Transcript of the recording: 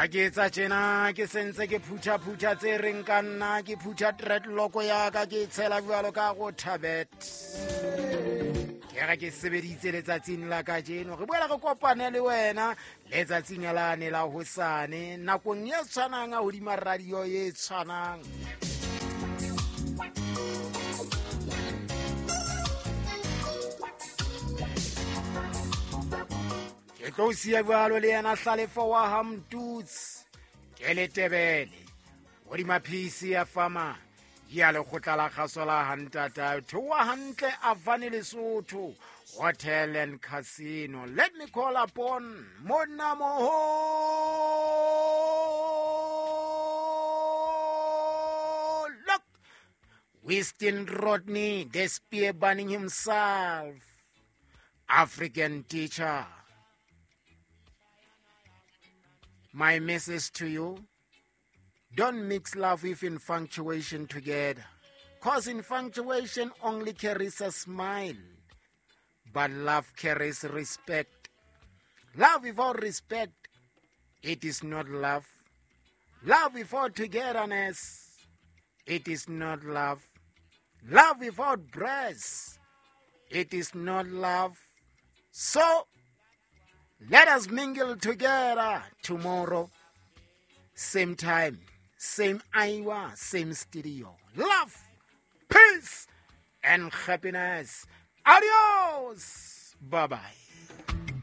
Ha ke etsa tjena ke sentse ke phutha-phutha tse reng ka nna, ke phutha dreadlock ya ka, ke e tshela jwalo ka go thabet. Ke re ke sebeditse letsatsing la kajeno, re boela re kopane le wena letsatsing lane la hosane nakong e tshwanang a hodima radio e tshwanang. Ke tlo siya jwalo le yena Hlalefo wa Hamtuts ke letebele hodima PC ya fama ya lekgotla la kgaso la hantata theoha hantle Avani Lesotho Hotel and Casino. Let me call upon Monamoho Look, Winston Rodney, the spear burning himself, African teacher. My message to you, don't mix love with infatuation together, cause infatuation only carries a smile, but love carries respect. Love without respect, it is not love. Love without togetherness, it is not love. Love without breasts, it is not love. So, let us mingle together tomorrow, same time, same hour, same studio. Love, peace, and happiness. Adios. Bye-bye.